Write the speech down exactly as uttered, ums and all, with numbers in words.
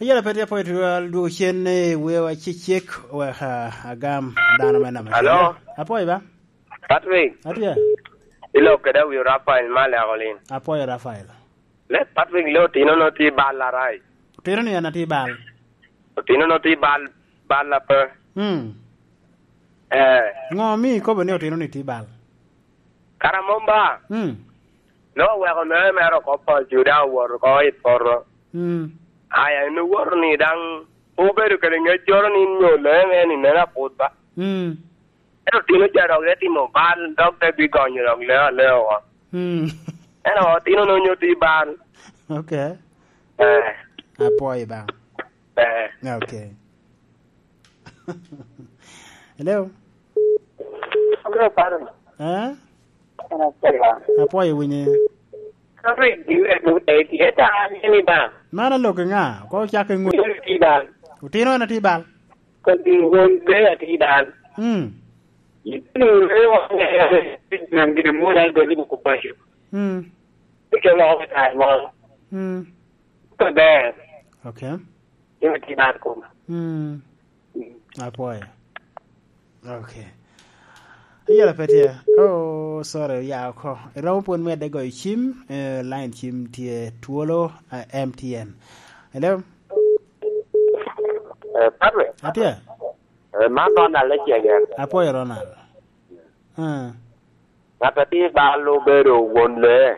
Ayela pe tye apwoyo twal dwogo cen i wewa cecek wek, ah, agam dano me namba Alo? Apwoyo ba? Patrick, Atye. Ilok kede awi Rafael Malek Olin. Apwoyo Rafael. Le Patrick, le otino no tye bal arai. Otino ni en atye bal. Otino no tye bal, bal ape. Hmm. Eh. Ngo mi ikobo ni otino ni tye bal? Kara mom ba? Hmm. No weko mere mere oko pol ju daŋ owoto oko i poto. Hmm. Aya, en owoto ni daŋ obedo kede ŋeccoro ni nyo lee me ni meno aput ba. Hmm. Ento otino ca dok te timo bal, dok te bigonyo dok lee alea oko. Hmm. Ento otino no nyo tye bal. Okay. Eh. Apwoyo ba. Eh. Okay. Hello. Hello, Patrick. Eh? Hello, Patrick. Apwoyo winye. Patrick, you have to take it. Ita, ni ba? Man aloke ŋa? Ko cak i ŋut. Ni ba? Otino en atye bal. Ko di won be atye bal. Hmm. Ni re wa nan gina mo na gani mo ko pacho. Hmm. Ike mo ko ta mo. Hmm. Ko ber. Okay. Yo ti bar koma. Hmm. Apwoyo. Okay. Ayela pe tye. Oh, sorry, ya oko. Iromo pwod medde goyo cim, eh, line cim tye twolo, eh, M T N. Hello? Eh, Patrick? Atye. Eh, man Ronald Ecegen. Apwoyo Ronald. Ah. Ŋat a tye bal obedo won lee.